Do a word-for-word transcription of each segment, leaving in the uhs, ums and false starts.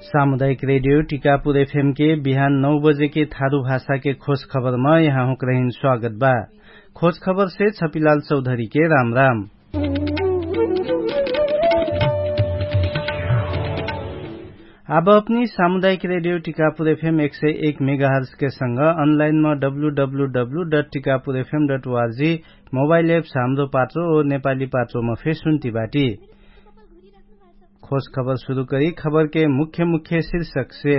सामुदायिक रेडियो टिकापुर एफएम के बिहान नौ बजे के थारु भाषा के खोज खबर मा यहाँहुँक रहिन स्वागत बा। खोज खबर से छपिलाल चौधरी के राम राम। आब अपनी सामुदायिक रेडियो टिकापुर एफएम एक सय एक मेगाहर्स के संग अनलाइन मा W W W dot Tikapur FM dot ORG mobile apps Hamro पाचो ओ नेपाली पाचो मा फेर सुन्ती बाटी। खोज खबर सुरु करी खबर के मुख्य मुख्य शीर्षक से।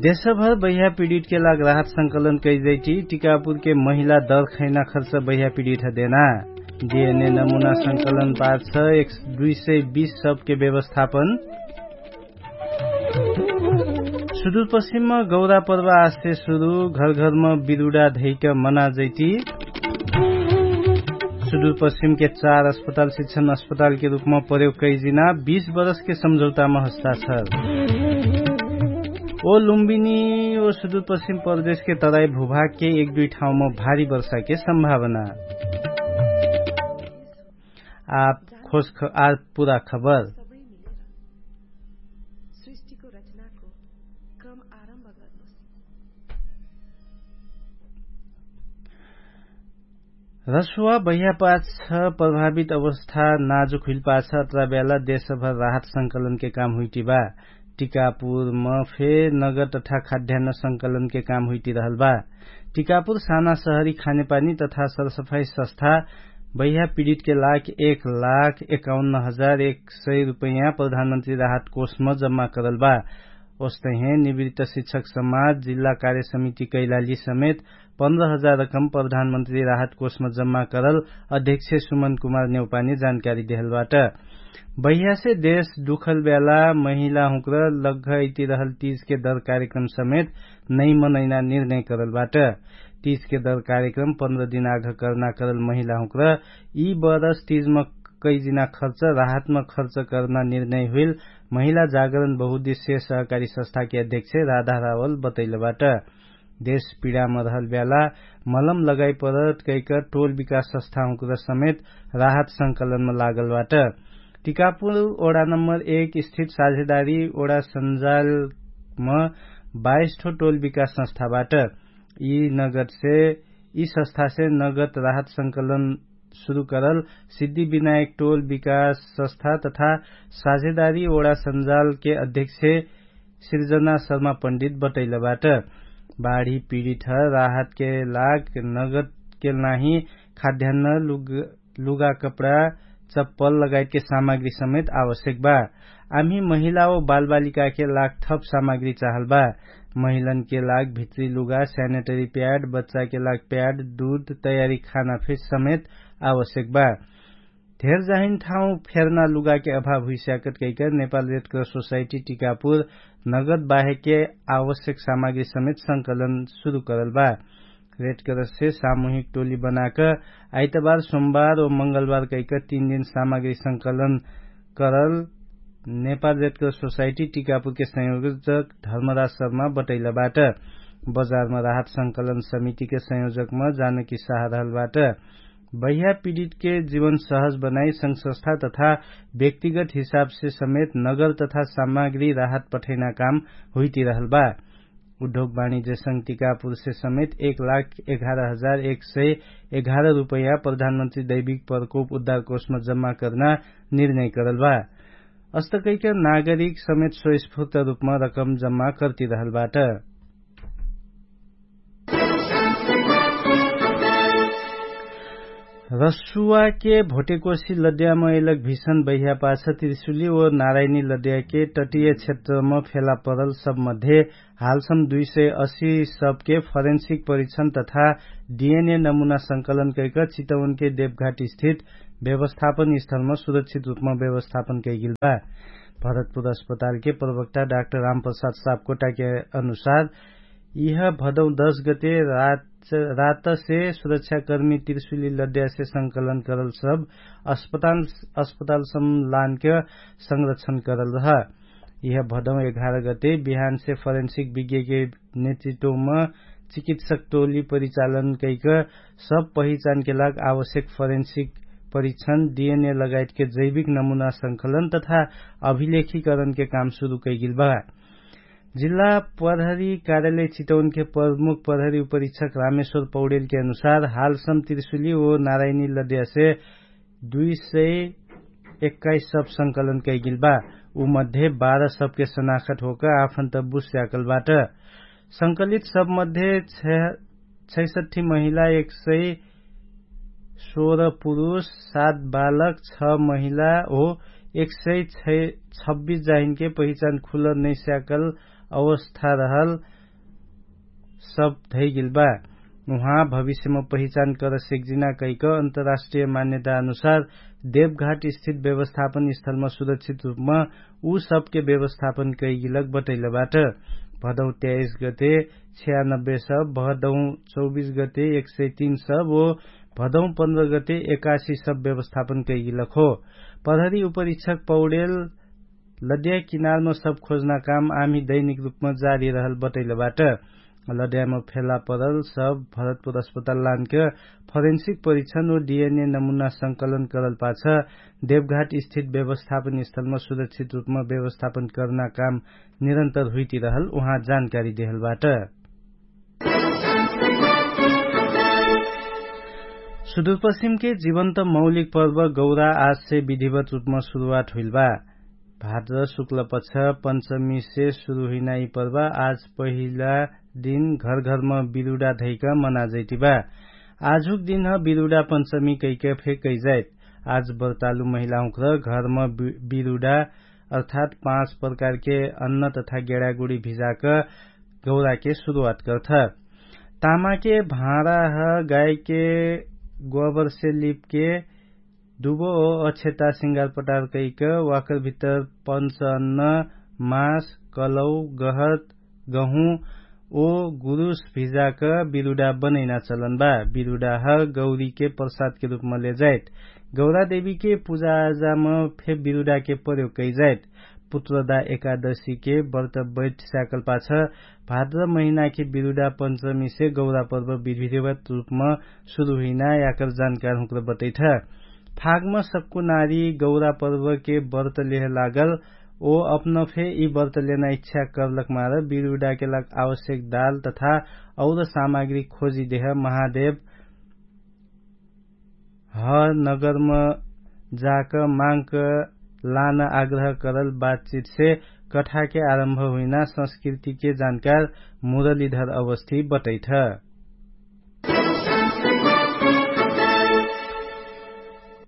देशभर बैहा पीडित के लाग राहत संकलन कैजैटी टिकापुर के महिला दर खैना खर्च बैहा पीडित ह देना। डिएनए नमुना संकलन पार छ एक दुई सय बीस सबके व्यवस्थापन। सुदूरपश्चिममा गौरा पर्व आस्ते सुरु घरघरमा बिरुडा धैक मनाजैती। सुदूरपश्चिमके चार अस्पताल शिक्षण अस्पतालके रूपमा प्रयोग कैजिना बीस बरसके सम्झौतामा हस्ताक्षर। ओ लुम्बिनी ओ सुदूरपश्चिम प्रदेशके तराई भूभागके एक दुई ठाउँमा भारी वर्षाके सम्भावना। आप खोज ख- आ पूरा खबर। सबै मिलेर सृष्टिको रचनाको क्रम आरम्भ गर्नुस्। रसुवा बह्यापाछ प्रभावित अवस्था नाजुक हुइलपाछ अत्रा बेला देशभर राहत संकलनके काम हुइटिबा। टिकापुर म फे नगर तथा खाद्यान्न संकलनके काम हुइटिरहल बा। टिकापुर साना सहरी खानेपानी तथा सरसफाई सस्था बह्या पिडितके लाख एक लाख एकाउन्न हजार एक सय रुपैया प्रधानमन्त्री राहत कोषम जम्मा करल बा। ओस्तहे निवृत्त शिक्षक समाज जिल्ला कार्य समिति कैलाली समेत पन्ध्र हजार रकम प्रधानमन्त्री राहत कोषम जम्मा करल अध्यक्ष सुमन कुमार नेउपानी जानकारी देहल बाट। बह्यासे देश दुखल ब्याला महिला हुँक्र लग्घ अइतिरहल तीजके दर कार्यक्रम समेत नै मनैना निर्णय करल बाट। तीजके दर कार्यक्रम पन्ध्र दिन आघ करना करल महिला हुँक्र यी बरस तीजम कैजिना खर्च राहतम खर्च करना निर्णय हुइल महिला जागरण बहुद्देश्य सहकारी सस्थाके अध्यक्ष राधा रावल बतैल बाट। देश पिडाम रहल ब्याला मलम लगाइ परत कैक टोल विकास सस्थाहुँक्र समेत राहत संकलनम लागल बाट। टिकापुर ओडा नम्बर एक स्थित साझेदारी ओडा सन्जालम बाइस ठो टोल विकास सस्थाबाट यी नगदसे यी सस्थासे नगद राहत संकलन सुरु करल सिद्धिविनायक टोल विकास सस्था तथा साझेदारी ओडा सन्जालके अध्यक्ष सिर्जना शर्मा पण्डित बटैलबाट। बाढी पिडित ह राहतके लाग नगदके नाही खाद्यान्न लुगा कपडा चप्पल लगायतके सामग्री समेत आवश्यक बा। आम्ही महिला ओ बालबालिकाके लाग थप सामग्री चाहल बा। महिलनके लाग भित्री लुगा स्यानेटरी प्याड बच्चाके लाग प्याड दुध तयारी खाना फेर समेत आवश्यक बा। धेर जाहिन ठाउँ फेर्ना लुगाके अभाव हुइस्याकत कैकर नेपाल रेडक्रस सोसाइटी टिकापुर नगद बाहेके आवश्यक सामग्री समेत संकलन सुरु करल बा। रेडक्रससे सामुहिक टोली बनाक आइतबार सोमबार ओ मंगलबार कैकर तीन दिन सामग्री संकलन करल नेपाल रेडक्रस सोसाइटी टिकापुरके संयोजक धर्मराज शर्मा बटैलबाट। बजारमा राहत संकलन समितिके संयोजकमा जानकी साह रहलबाट। बह्या पिडितके जीवन सहज बनाई संघसस्था तथा व्यक्तिगत हिसाबसे समेत नगर तथा सामग्री राहत पठैना काम हुइतिरहल बा। उद्योग वाणिज्य संघ टिकापुरसे समेत एक लाख एघार हजार एक सय एघार रुपैया प्रधानमन्त्री दैविक प्रकोप उद्धार कोषमा जम्मा कर्ना निर्णय करल बा। अस्तकैक नागरिक समेत स्वस्फूर्त रुपमा रकम जम्मा कर्तिरहल बाट। रसुवाके भोटेकोसी लद्याम एलक भिषण बह्यापाछ त्रिशुली ओ नारायणी लद्याके तटिय क्षेत्रम फेला परल सबमध्ये हालसम दुई सय असी सबके फरेन्सिक परिक्षण तथा डिएनए नमुना संकलन कैक चितवनके देवघाट स्थित व्यवस्थापन स्थलम सुरक्षित रुपम व्यवस्थापन कैगिल बा। भरतपुर अस्पतालके प्रवक्ता डाक्टर रामप्रसाद सापकोटाके अनुसार यिह भदौ दश गते रातसे सुरक्षाकर्मी तिर्सुली लद्यासे संकलन करल सब अस्पताल अस्पताल सम्लानके संरक्षण करल रह। यिह भदौ एघार गते बिहानसे फरेन्सिक विज्ञके नेतृत्वम चिकित्सक टोली परिचालन कैक सब पहिचानके लाग आवश्यक फरेन्सिक परीक्षण डिएनए लगायतके जैविक नमुना संकलन तथा अभिलेखीकरणके काम सुरु कैगेल बा। जिल्ला प्रहरी कार्यालय चितौनके प्रमुख प्रहरी उपरीक्षक रामेश्वर पौडेलके अनुसार हालसम त्रिशुली ओ नारायणी लद्यासे दुई सय एक्काइस सब संकलन कैगेल बा। उ मध्ये बाह्र सबके सनाखत होक आफन्त बुझ स्याकल बाट। संकलित सब मध्ये छैसठ्ठी महिला एक सय सोह्र पुरुष सात बालक छ महिला हो एक सय छब्बिस जाहिनके पहिचान खुलर नैस्याकल अवस्था रहल सब धैगेल बा। उहाँ भविष्यम पहिचान कर सेक्जिना कैक अन्तर्राष्ट्रिय मान्यता अनुसार देवघाट स्थित व्यवस्थापन स्थलम सुरक्षित रुपम उ सबके व्यवस्थापन कैगिलक बटैल बाट। भदौ त्याइस गते छ्यानब्बे सब भदौ चौबिस गते एक सय तीन सब ओ भदौ पन्ध्र गते एकासी सब व्यवस्थापन कैगिलक हो। प्रहरी उपरीक्षक पौडेल लद्या किनारम सब खोजना काम आमी दैनिक रुपम जारी रहल बटैल बाट। लद्याम फेला परल सब भरतपुर अस्पताल लानके फरेन्सिक परीक्षण ओ डिएनए नमुना संकलन करल पाछ देवघाट स्थित व्यवस्थापन स्थलम सुरक्षित रुपम व्यवस्थापन कर्ना काम निरन्तर हुइति रहल उहाँ जानकारी देहल बाट। सुदुरपश्चिमके जीवन्त मौलिक पर्व गौरा आजसे विधिवत रुपम सुरुवात हुइल बा। भाद्र शुक्ल पछ पञ्चमीसे सुरु हुइना यि पर्व आज पहिला दिन घरघरम बिरुडा धैक मनाजैति बा। आजुक दिनह बिरुडा पञ्चमी कैक फे कैजाइत। आज बर्तालु महिलाहुँक्र घरम बिरुडा अर्थात् पाँच प्रकारके अन्न तथा गेडागुडी भिजाक गौराके सुरुवात गर्थ। तामाके भाँडाह गाइके गोबरसे लिपके दुबो ओ अक्षता सिंगार पटार कैक वाकर भित्तर पञ्च अन्न मास कलौ गहत गहुँ ओ गुरुस भिजाक बिरुडा बनैना चलन बा। बिरुडाह गौरीके प्रसादके रुपम लेजाइत। गौरादेवीके पुजाजाम फे बिरुडाके प्रयोग कैजाइत। पुत्रदा एकादशीके बर्त बैठ स्याकल पाछ भाद्र महिनाके बिरुडा पञ्चमीसे गौरा पर्व विधिवत रुपम सुरु हुइना याकर जानकार हुँक्र बटैठ। फागम सक्कु नारी गौरा पर्वके बर्त लेह लागल ओ अपनफे यि बर्त लेना इच्छा कर्लक मार बिरुडाके लाग आवश्यक दाल तथा और सामग्री खोजी देह महादेव ह नगरम जाक माङ्क लान आग्रह करल बातचितसे कठाके आरम्भ हुइना संस्कृतिके जानकार मुरलीधर अवस्थी बटैठ।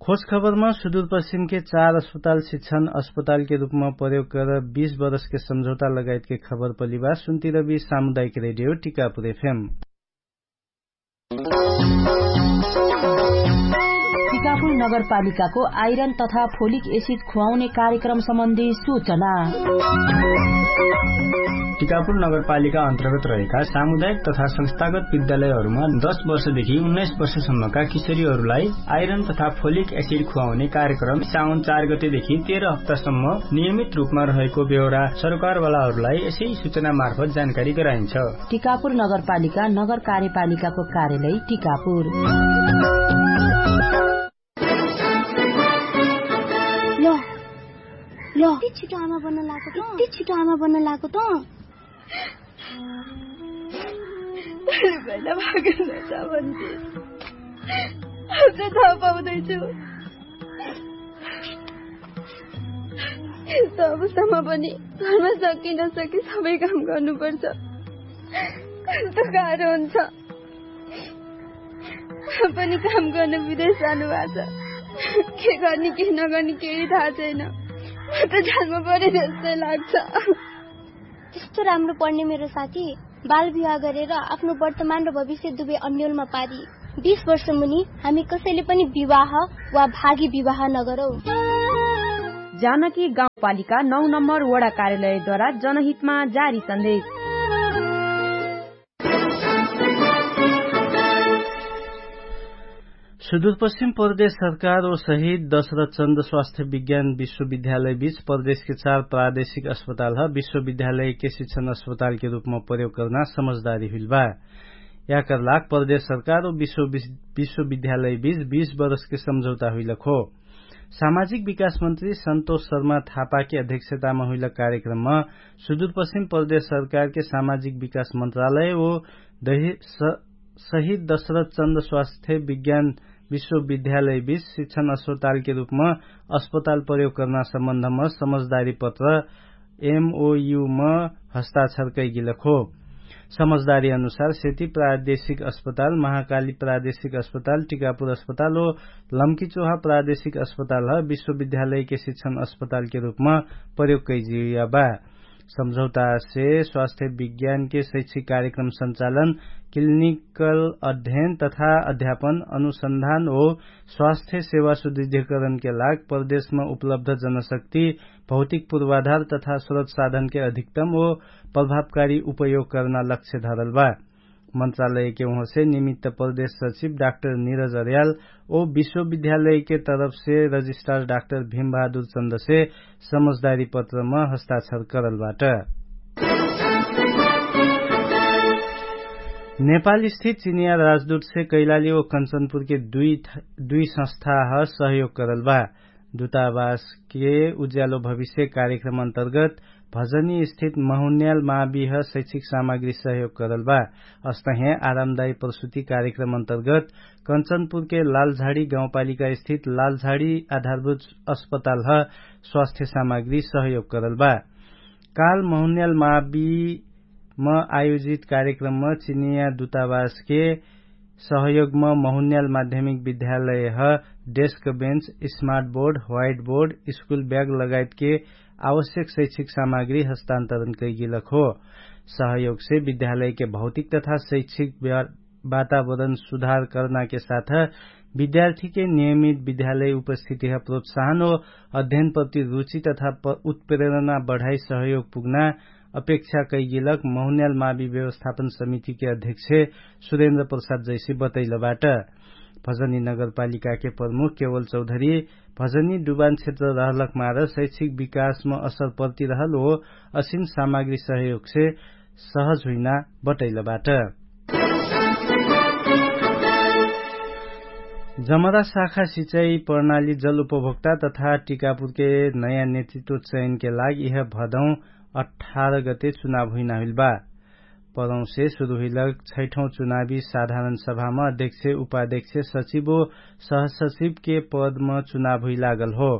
खोज खबरमा सुदुरपश्चिमके चार अस्पताल शिक्षण अस्पतालके रुपमा प्रयोग कर बीस बरसके सम्झौता लगायतके खबर पलिबा सुन्तिरबी सामुदायिक रेडियो टिकापुर एफएम। टिकापुर नगरपालिकाको आइरन तथा फोलिक एसिड खुवाउने कार्यक्रम सम्बन्धी सूचना। टिकापुर नगरपालिका अन्तर्गत रहेका सामुदायिक तथा संस्थागत विद्यालयहरूमा दस वर्षदेखि उन्नाइस वर्षसम्मका किशोरीहरूलाई आइरन तथा फोलिक एसिड खुवाउने कार्यक्रम साउन चार गतेदेखि तेह्र हप्तासम्म नियमित रूपमा रहेको बेहोरा सरकारवालाहरूलाई यसै सूचना मार्फत जानकारी गराइन्छ। टिकापुर नगरपालिका नगर कार्यपालिकाको कार्यालय टिकापुर। ल ल यति छिटो आमा बन्न लागेको त यति छिटो आमा बन्न लागेको त। भैला भागेन छ भन्थे अझ थाहा पाउँदैछु। यस्तो अवस्थामा पनि घरमा सकि नसकि सबै काम गर्नुपर्छ। कस्तो गाह्रो हुन्छ। पनि काम गर्न विदेश जानुभएको छ। के गर्ने के नगर्ने केही थाहा छैन। म त जालमा परे जस्तै लाग्छ। त्यस्तो राम्रो पढ्ने मेरो साथी बाल विवाह गरेर आफ्नो वर्तमान र भविष्य दुवै अन्यलमा पारी बिस वर्ष मुनि हामी कसैले पनि विवाह वा भागी विवाह नगरौँ। जानकी गाउँपालिका नौ नम्बर वडा कार्यालयद्वारा जनहितमा जारी सन्देश। सुदूरपश्चिम प्रदेश सरकार ओ सहित दशरथ चन्द स्वास्थ्य विज्ञान विश्वविद्यालय बीच प्रदेशके चार प्रादेशिक अस्पताल ह विश्वविद्यालयके शिक्षण अस्पतालके रूपमा प्रयोग कर्ना समझदारी हुइल बा। याकर लाग प्रदेश सरकार व विश्वविद्यालय बीच बीस बरसके सम्झौता हुइलक हो। सामाजिक विकास मन्त्री सन्तोष शर्मा थापाके अध्यक्षतामा हुइलक कार्यक्रममा सुदूरपश्चिम प्रदेश सरकारके सामाजिक विकास मन्त्रालय व शहीद दशरथ चन्द स्वास्थ्य विज्ञान विश्वविद्यालय बीच शिक्षण अस्पतालके रूपमा अस्पताल प्रयोग कर्ना सम्बन्धमा समझदारी पत्र एमओयू म हस्ताक्षर कैगिलक हो। समझदारी अनुसार सेती प्रादेशिक अस्पताल महाकाली प्रादेशिक अस्पताल टिकापुर अस्पताल हो लम्कीचोहा प्रादेशिक अस्पताल ह विश्वविद्यालयके शिक्षण अस्पतालके रूपमा प्रयोग कैजिया बा। सम्झौतासे स्वास्थ्य विज्ञानके शैक्षिक कार्यक्रम सञ्चालन क्लिनिकल अध्ययन तथा अध्यापन अनुसन्धान हो स्वास्थ्य सेवा सुदृढीकरणके लाग प्रदेशमा उपलब्ध जनशक्ति भौतिक पूर्वाधार तथा स्रोत साधनके अधिकतम हो प्रभावकारी उपयोग कर्ना लक्ष्य धरल बा। मन्त्रालयके उहाँसे निमित्त प्रदेश सचिव डाक्टर निरज अर्याल ओ विश्वविद्यालयके तरफसे रजिस्ट्रार डाक्टर भीमबहादुर चन्दसे समझदारी पत्रमा हस्ताक्षर करल बाट। नेपाल स्थित चिनिया राजदूतसे कैलाली ओ कन्चनपुरके दुई संस्था ह सहयोग करल बा। दुतावासके उज्यालो भविष्य कार्यक्रम अन्तर्गत भजनी स्थित महुन्याल माविह शैक्षिक सामग्री सहयोग करल बा। अस्तहे आरामदायी प्रसुति कार्यक्रम अन्तर्गत कन्चनपुरके लालझाडी गाउँपालिका स्थित लालझाडी आधारभूत अस्पतालह स्वास्थ्य सामग्री सहयोग करल बा। काल महुन्याल मावि म आयोजित कार्यक्रमम चिनिया दुतावासके सहयोगम महुन्याल माध्यमिक विद्यालयह desk bench smart board white board school bag लगायतके आवश्यक शैक्षिक सामग्री हस्तान्तरण कैगिलक हो। सहयोगसे विद्यालयके भौतिक तथा शैक्षिक वातावरण सुधार करनाके साथ विद्यार्थीके नियमित विद्यालय उपस्थितिह प्रोत्साहन हो अध्ययनप्रति रुचि तथा उत्प्रेरणा बढाइ सहयोग पुग्ना अपेक्षा कैगिलक महुन्याल मावि व्यवस्थापन समितिके अध्यक्ष सुरेन्द्र प्रसाद जैसी बतैलबाट। भजनी नगरपालिकाके प्रमुख केवल चौधरी भजनी डुबान क्षेत्र रहलक मार शैक्षिक विकासम असर पर्ति रहल हो असिन सामग्री सहयोगसे सहज हुइना बटैलबाट। जमरा शाखा सिचाइ प्रणाली जल उपभोक्ता तथा टिकापुरके नयाँ नेतृत्व चयनके लाग इह भदौं अठार गते चुनाव हुइना हुइल बा। परौंसे सुरु हुइलक छैठौं चुनावी साधारण सभामा अध्यक्ष उपाध्यक्ष सचिव ओ सहसचिवके पदमा चुनाव हुइलागल हो।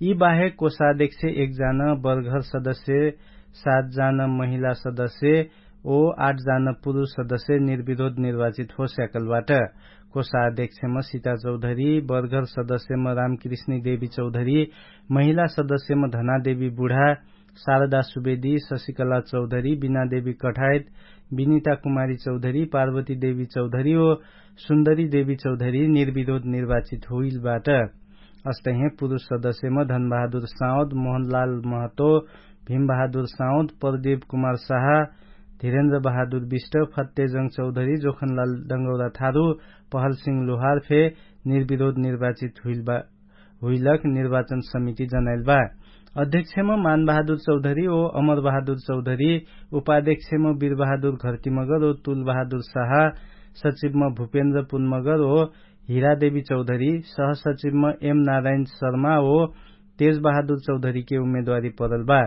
यि बाहेक कोषाध्यक्ष एक जान बर्घर सदस्य सात जान महिला सदस्य ओ आठ जान पुरुष सदस्य निर्विरोध निर्वाचित हो स्याकलबाट। कोषाध्यक्षम सीता चौधरी बर्घर सदस्यम रामकृष्णी देवी चौधरी महिला सदस्यम धनादेवी बुढा शारदा सुवेदी शशिकला चौधरी बिनादेवी कठायत बिनिता कुमारी चौधरी पार्वती देवी चौधरी ओ सुन्दरी देवी चौधरी निर्विरोध निर्वाचित हुइलबाट। अस्तहे पुरुष सदस्यम धनबहादुर साउद मोहनलाल महतो भीमबहादुर साउद प्रदीप कुमार साहा धिरेन्द्र बहादुर विष्ट फत्तेजङ चौधरी जोखनलाल डङ्गौरा थारु पहलसिङ लोहार फे निर्विरोध निर्वाचित हुइलक निर्वाचन समिति जनाइल बा। अध्यक्षम मानबहादुर चौधरी ओ अमरबहादुर चौधरी उपाध्यक्षम वीरबहादुर घरतीमगर ओ तुलबहादुर साहा सचिवम भुपेन्द्र पुनमगर ओ हिरादेवी चौधरी सहसचिवम एम नारायण शर्मा ओ तेजबहादुर चौधरीके उम्मेदवारी परल बा।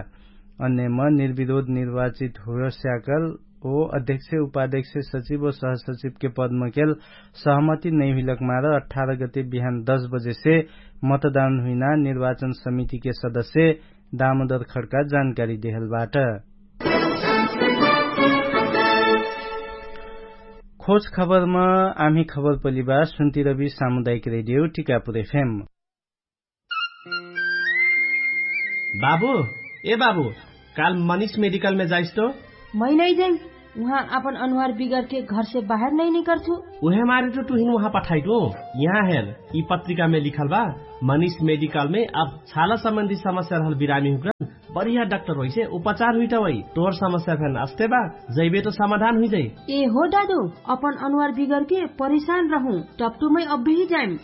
अन्यम निर्विरोध निर्वाचित हुयस्याकल ओ अध्यक्ष उपाध्यक्ष सचिव ओ सहसचिवके पदमकेल सहमति नैहुइलक मार अठार गते बिहान दश बजेसे मतदान हुइना निर्वाचन समितिके सदस्य दामोदर खड्का जानकारी देहलबाट। खोज खबरमा आम्ही खबर पलिबा सुन्तिरबी सामुदायिक रेडियो टिकापुर एफएम। बाबु, ए बाबु, काल मनिष मेडिकलमे जाइस्तो? मै नैजैम। उहाँ आपन अनुहार बिगरके घरसे बाहेर नैनिकरछु। उहे मारे टु टुहिन उहाँ पठाइटु। यहाँ हेर, यि पत्रिकामे लिखल बा, मनिष मेडिकलमे अब छाला सम्बन्धी समस्या रहल बिरामी हुकरन बढिया डाक्टर होइसे उपचार हुइटवै। तोहर समस्या फेन अस्ते बा, जैबे तो समाधान हुइजै। ए हो दादु, अपन अनुहार बिगरके परिशान रहु, टप्टुमै अब्बिही जाइम।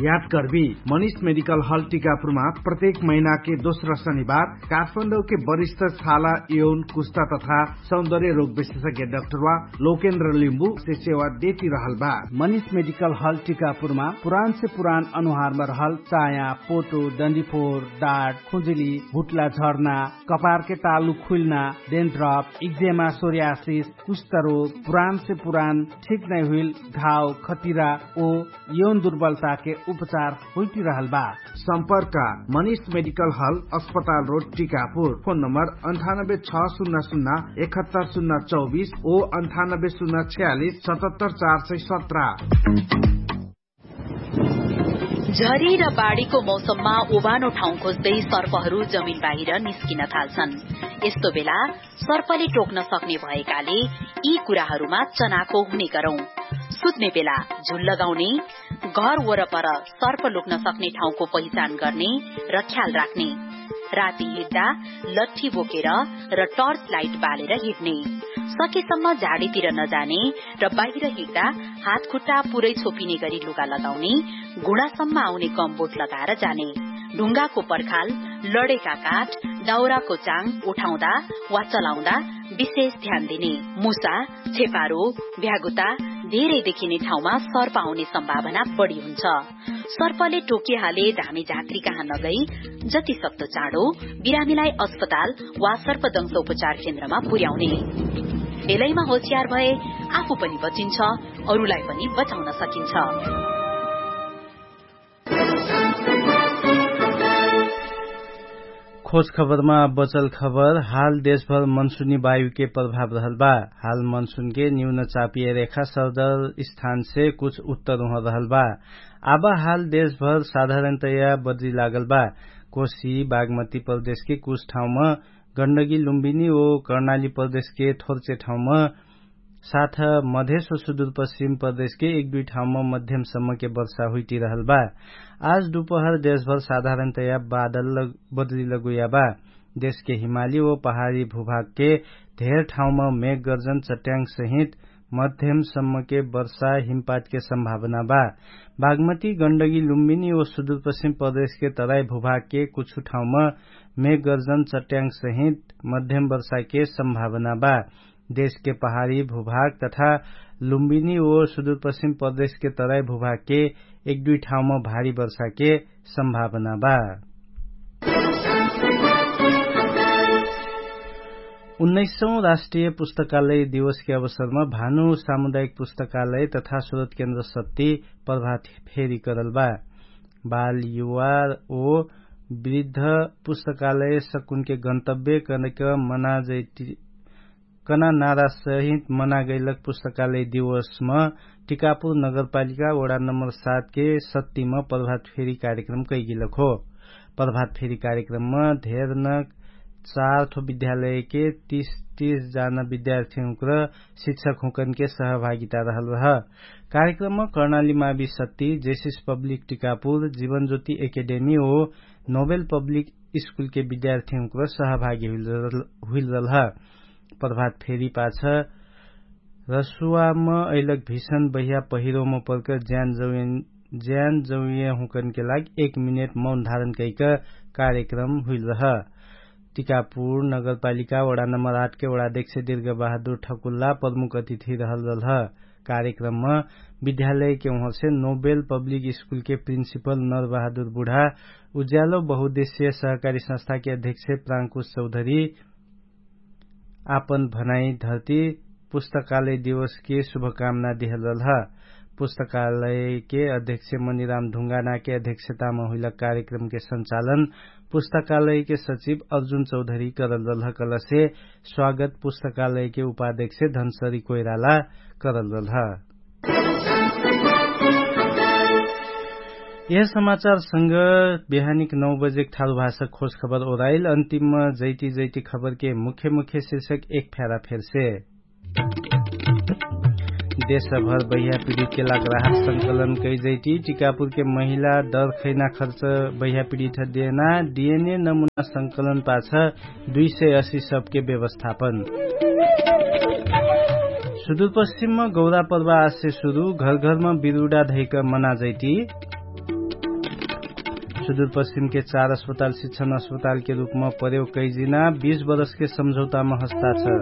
याद कर्बी, मनिष मेडिकल हल टिकापुरमा प्रत्येक महिनाके दोस्रा शनिबार काठमाडौके वरिष्ठ छाला यौन कुस्ता तथा सौन्दर्य रोग विशेषज्ञ डाक्टरवा लोकेन्द्र लिम्बु से सेवा देती रहल बा। मनिष मेडिकल हल टिकापुरमा पुरान से पुरान अनुहारमा रहल चाया, पोटो, डन्डीफोर, डाट, खुजुली, हुट्ला झर्ना, कपारके तालु खुइल्ना, डेन्ड्रप, इक्जेमा, सोरियासिस, कुष्ठरोग, पुरान से पुरान ठीक नै हुइल घाव, खतिरा ओ यौन दुर्बलताके उपचार होइटिरहल बा। सम्पर्क, मनिष मेडिकल हल, अस्पताल रोड, टिकापुर। फोन नम्बर अन्ठानब्बे छ सुन्ना सुन्ना एकहत्तर सुन्ना चौबिस ओ अन्ठानब्बे सुन्ना छयालिस सतहत्तर चार सय सत्र। झरी र बाढीको मौसममा ओबानो ठाउँ खोज्दै सर्पहरू जमिन बाहिर निस्किन थाल्छन्। यस्तो बेला सर्पले टोक्न सक्ने भएकाले यी कुराहरूमा चनाखो हुने गरौँ। सुत्ने बेला झुल लगाउने, घर वरपर सर्प लुक्न सक्ने ठाउँको पहिचान गर्ने र ख्याल राख्ने। राति हिँड्दा लट्ठी बोकेर र टर्च लाइट बालेर हिँड्ने। सकेसम्म झाडीतिर नजाने र बाहिर हिँड्दा हातखुट्टा पुरै छोपिने गरी लुगा लगाउने। घुँडासम्म आउने गमबोट लगाएर जाने। ढुङ्गाको पर्खाल, लडेका काठ, दाउराको चाङ उठाउँदा वा चलाउँदा विशेष ध्यान दिने। मुसा, छेपारो, भ्यागुता, धेरै देखिने ठाउँमा सर्प आउने सम्भावना बढी हुन्छ। सर्पले टोकिहाले धामी झात्री कहाँ नगई जति सक्दो चाँडो बिरामीलाई अस्पताल वा सर्पदंश उपचार केन्द्रमा पुर्याउने। बेलैमा होसियार भए आफू पनि बचिन्छ, अरूलाई पनि बचाउन सकिन्छ। खोज खबरमा बचल खबर। हाल देशभर मनसुनी वायुके प्रभाव रहल बा। हाल मनसुनके न्यून चापिय रेखा सरदर स्थानसे कुछ उत्तर उहर रहल बा। आब हाल देशभर साधारणतया बद्री लागल बा। कोशी बागमती प्रदेशके कुछ ठाउँम गण्डगी लुम्बिनी ओ कर्णाली प्रदेशके थोर्चे ठाउँम साथ मधेश ओ सुदुरपश्चिम प्रदेशके एक दुइ ठाउँम मध्यमसम्मके वर्षा हुइटिरहल बा। आज दुपहर देशभर साधारणतया बादल बद्री लगुया बा। देशके हिमाली ओ पहाडी भूभागके धेर ठाउँम मेघगर्जन चट्याङ्गसहित मध्यमसम्मके वर्षा हिमपातके सम्भावना बा। बागमती गण्डगी लुम्बिनी ओ सुदुरपश्चिम प्रदेशके तराई भूभागके कुछु ठाउँम मेघगर्जन चट्याङ्गसहित मध्यम वर्षाके सम्भावना बा। देशके पहाडी भूभाग तथा लुम्बिनी ओ सुदुरपश्चिम प्रदेशके तराई भूभागके एक दुइ ठाउँम भारी वर्षाके सम्भावना बा। उन्नैसौँ राष्ट्रिय पुस्तकालय दिवसके अवसरमा भानु सामुदायिक पुस्तकालय तथा स्रोत केन्द्र सत्ती प्रभात फेरी करल बा। बाल युवा ओ वृद्ध पुस्तकालय सकुनके गन्तव्य कनक मनाजैती कना नारासहित मनागैलक पुस्तकालय दिवसम टिकापुर नगरपालिका वडा नम्बर सातके सत्तिम प्रभात फेरी कार्यक्रम कैगिलक हो। प्रभात फेरी कार्यक्रमम धेर न चार थो विद्यालयके तीस तीस जाना विद्यार्थीहुँक्र शिक्षकहुँकनके सहभागिता रहल रह। कार्यक्रमम कर्णाली मावी सत्ति जेसिस पब्लिक टिकापुर जीवनज्योति एकेडेमी ओ नोबेल पब्लिक स्कुलके विद्यार्थीहुँक्र सहभागी हुइल रहल ह। प्रभात फेरी पाछ रसुवाम अइलक भिषण बहिया पहिरोम पर्क ज्यान जौयहुँकनके लाग एक मिनेट मौन धारण कैक कार्यक्रम हुइल रह। टिकापुर नगरपालिका वडा नम्बर आठके वडा देख्से दिर्ग बहादुर ठकुल्ला प्रमुख अतिथि रहल रहल ह। कार्यक्रमम विद्यालयके उहरसे नोबेल पब्लिक स्कुलके प्रिन्सिपल नर बहादुर बुढा उज्यालो बहुदेश्य सहकारी संस्थाके अध्यक्ष प्राङ्कुश चौधरी आपन भनाइ धर्ती पुस्तकालय दिवसके शुभकामना दिहलल ह। पुस्तकालयके अध्यक्ष मनिराम ढुङ्गानाके अध्यक्षतामा हुइला कार्यक्रमके संचालन पुस्तकालयके सचिव अर्जुन चौधरी करलल ह कलसे स्वागत पुस्तकालयके उपाध्यक्ष धनसरी कोइराला करलल ह। यह समाचारसँग बिहानिक नौ बजेक थारु भाषा खोज खबर ओराइल अन्तिममा जैती जैती खबरके मुख्य मुख्य शिर्षक एक फ्यारा फेरसे। देशभर बहिया पिडितके लाग राहत संकलन कैजैती टिकापुरके महिला दर खैना खर्च बहिया पिडित देना डिएनए नमुना संकलन पाछ दुई सय असी सबके व्यवस्थापन। सुदूरपश्चिममा गौरा पर्वा आसे सुरु घरघरमा बिरुडा धैक मनाजैती। सुदूरपश्चिमके चार अस्पताल शिक्षण अस्पतालके रूपमा प्रयोग कैजिना बीस बरसके सम्झौतामा हस्ताक्षर।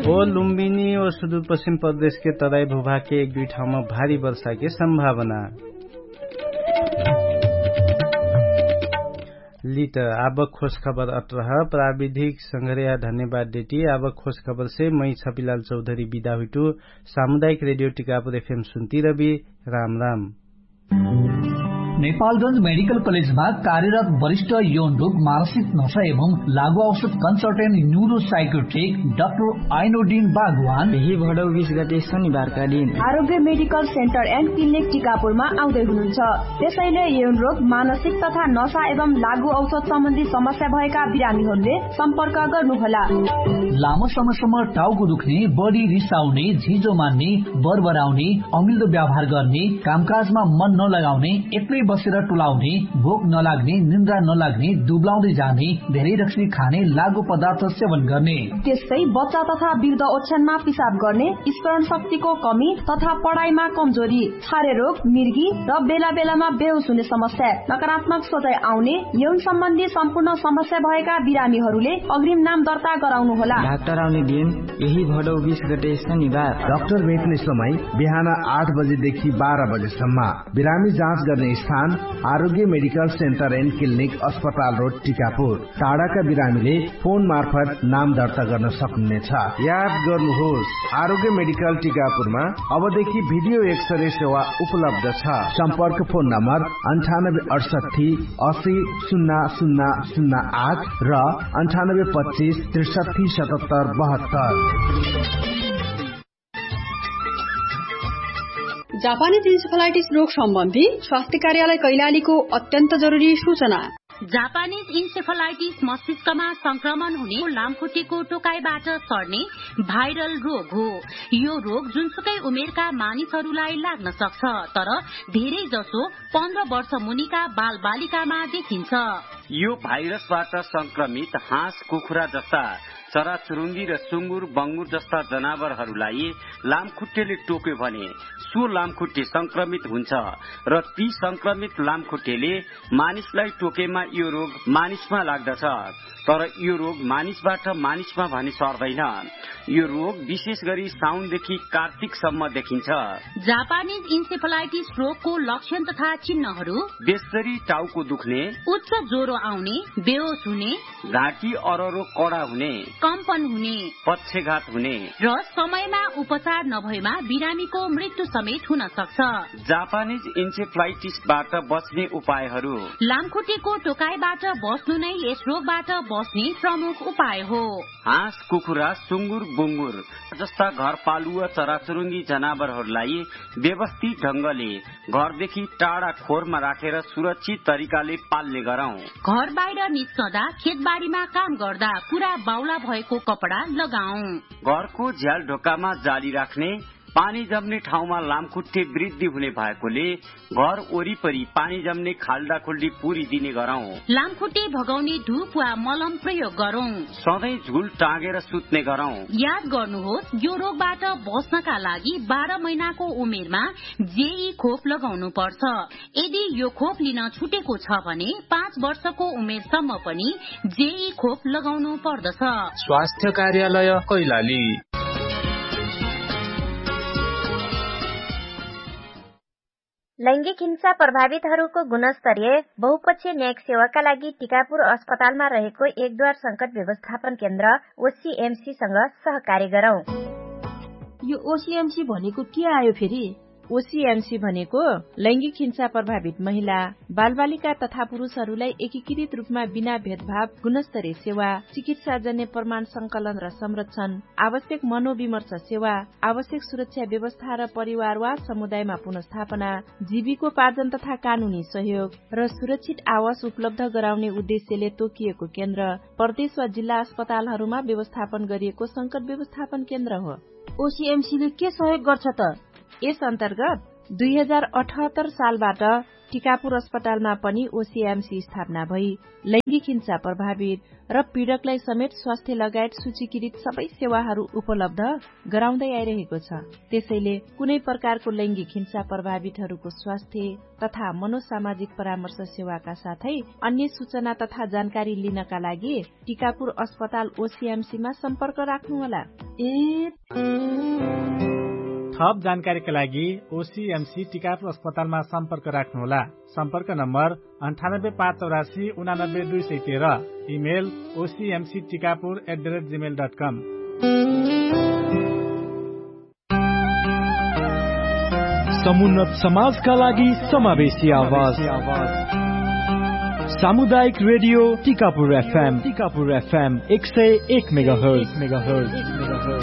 ओ लुम्बिनी ओ सुदूरपश्चिम प्रदेशके तराई भूभागके एक दुई ठाउँमा भारी वर्षाके सम्भावना। लित आब खोज खबर अट्रह प्राविधिक संघर्या धन्यवाद देटी। आब खोज खबरसे मै छपिलाल चौधरी बिदा हुइटु। सामुदायिक रेडियो टिकापुर एफएम सुन्ती रबि। राम राम। नेपालगंज मेडिकल कलेजमा कार्यरत वरिष्ठ यौन रोग मानसिक नशा एवं लागु औषध कन्सल्टेन्ट न्युरो साइकोट्रिक डाक्टर आइनोडिन बागवान यही भडौ बिस गते शनिबारका दिन आरोग्य मेडिकल सेन्टर एन्ड क्लिनिक टिकापुरमा आउँदै हुनुहुन्छ। त्यसैले यौन रोग मानसिक तथा नशा एवं लागु औषध सम्बन्धी समस्या भएका बिरामीहरूले सम्पर्क गर्नुहोला। लामो समयसम्म टाउको दुख्ने, बढी रिसाउने, झिजो मान्ने, बरबराउने, अमिल्दो व्यवहार गर्ने, कामकाजमा मन नलगाउने, एक्लै बसेर टुलाउने, भोक नलाग्ने, निन्द्रा नलाग्ने, दुब्लाउँदै जाने, धेरै रक्सी खाने, लागु पदार्थ सेवन गर्ने, त्यस्तै बच्चा तथा वृद्ध ओछ्यानमा पिसाब गर्ने, स्मरण शक्तिको कमी तथा पढाइमा कमजोरी, छारे रोग, मिर्गी र बेला बेलामा बेहोस हुने समस्या, नकारात्मक सोचाइ आउने, यौन सम्बन्धी सम्पूर्ण समस्या भएका बिरामीहरूले अग्रिम नाम दर्ता गराउनु होला। डाक्टर आउने दिन यही भडौ बिस गते शनिबार। डाक्टर भेट्ने समय बिहान आठ बजेदेखि बाह्र बजेसम्म। बिरामी जाँच गर्ने स्थान आरोग्य मेडिकल सेन्टर एन्ड क्लिनिक अस्पताल रोड टिकापुर। टाढाका बिरामीले फोन मार्फत नाम दर्ता गर्न सक्नुहुनेछ। याद गर्नुहोस्, आरोग्य मेडिकल टिकापुरमा अबदेखि भिडियो एक्सरे सेवा उपलब्ध छ। सम्पर्क फोन नम्बर अन्ठानब्बे अठसट्ठी असी सुन्ना सुन्ना सुन्ना आठ र अन्ठानब्बे पच्चिस त्रिसट्ठी सतहत्तर बहत्तर। जापानिज इन्सेफलाइटिस रोग सम्बन्धी स्वास्थ्य कार्यालय कैलालीको अत्यन्त जरुरी सूचना। जापानिज इन्सेफलाइटिस मस्तिष्कमा संक्रमण हुने लामखुट्टेको टोकाइबाट सर्ने भाइरल रोग हो। यो रोग जुनसुकै उमेरका मानिसहरूलाई लाग्न सक्छ, तर धेरै जसो पन्ध्र वर्ष मुनिका बालबालिकामा देखिन्छ। यो भाइरसबाट संक्रमित हाँस कुखुरा जस्ता चराचुरुङ्गी र सुँगुर बङ्गुर जस्ता जनावरहरूलाई लामखुट्टेले टोक्यो भने सो लामखुट्टे संक्रमित हुन्छ र ती संक्रमित लामखुट्टेले मानिसलाई टोकेमा यो रोग मानिसमा लाग्दछ। तर यो रोग मानिसबाट मानिसमा भने सर्दैन। यो रोग विशेष गरी साउनदेखि कार्तिकसम्म देखिन्छ। जापानिज इन्सेफलाइटिस रोगको लक्षण तथा चिन्हहरू बेसरी टाउको दुख्ने, उच्च ज्वरो आउने, बेहोस हुने, घाँटी अररो कडा हुने, कम्पन हुने, पक्षघात हुने र समयमा उपचार नभएमा बिरामीको मृत्यु समेत हुन सक्छ। जापानिज इन्सेफलाइटिसबाट बच्ने उपायहरू। लामखुट्टेको टोकाइबाट बस्नु नै यस रोगबाट बस्ने प्रमुख उपाय हो। हाँस कुखुरा सुँगुर बुँगुर जस्ता घरपालुवा चराचुरुङ्गी जनावरहरूलाई व्यवस्थित ढङ्गले घरदेखि टाढा खोरमा राखेर सुरक्षित तरिकाले पाल्ने गरौँ। घर बाहिर निस्कँदा, खेतबारीमा काम गर्दा पुरा बाउला भएको कपडा लगाउँ। घरको झ्याल ढोकामा जाली राख्ने, पानी जम्ने ठाउँमा लामखुट्टे वृद्धि हुने भएकोले घर वरिपरि पानी जम्ने खाल्डाखुल्डी पुरिदिने गरौँ। लामखुट्टे भगाउने धुप वा मलम प्रयोग गरौँ। सधैँ झुल टाँगेर सुत्ने गरौँ। याद गर्नुहोस्, यो रोगबाट बस्नका लागि बाह्र महिनाको उमेरमा जेई खोप लगाउनु पर्छ। यदि यो खोप लिन छुटेको छ भने पाँच वर्षको उमेरसम्म पनि जेई खोप लगाउनु पर्दछ। स्वास्थ्य कार्यालय कैलाली। लैङ्गिक हिंसा प्रभावितहरूको गुणस्तरीय बहुपक्षीय न्यायिक सेवाका लागि टिकापुर अस्पतालमा रहेको एकदुवार संकट व्यवस्थापन केन्द्र ओसिएमसीसँग सहकार्य गरौँ। यो ओसिएमसी भनेको के आयो फेरि? ओसिएमसी भनेको लैङ्गिक हिंसा प्रभावित महिला, बालबालिका तथा पुरुषहरूलाई एकीकृत रूपमा बिना भेदभाव गुणस्तरीय सेवा, चिकित्साजन्य प्रमाण संकलन र संरक्षण, आवश्यक मनोविमर्श सेवा, आवश्यक सुरक्षा व्यवस्था र परिवार वा समुदायमा पुनर्स्थापना, जीविकोपार्जन तथा कानुनी सहयोग र सुरक्षित आवास उपलब्ध गराउने उद्देश्यले तोकिएको केन्द्र प्रदेश वा जिल्ला अस्पतालहरूमा व्यवस्थापन गरिएको संकट व्यवस्थापन केन्द्र हो। ओसिएमसीले के सहयोग गर्छ त? यस अन्तर्गत दुई हजार अठहत्तर सालबाट टिकापुर अस्पतालमा पनि ओसिएमसी स्थापना भई लैङ्गिक हिंसा प्रभावित र पीडकलाई समेत स्वास्थ्य लगायत सूचीकृत सबै सेवाहरू उपलब्ध गराउँदै आइरहेको छ। त्यसैले कुनै प्रकारको लैङ्गिक हिंसा प्रभावितहरूको स्वास्थ्य तथा मनोसामाजिक परामर्श सेवाका साथै अन्य सूचना तथा जानकारी लिनका लागि टिकापुर अस्पताल ओसिएमसीमा सम्पर्क राख्नुहोला। ए थप जानकारीका लागि ओसिएमसी टिकापुर अस्पतालमा सम्पर्क राख्नुहोला। सम्पर्क नम्बर अन्ठानब्बे पाँच चौरासी उनानब्बे दुई सय तेह्र। Email OCMC Tikapur at the rate Gmail dot com. समुन्नत समाजका लागि समावेशी आवाज। सामुदायिक radio Tikapur FM Tikapur FM एक सय एक मेगाहर्ज।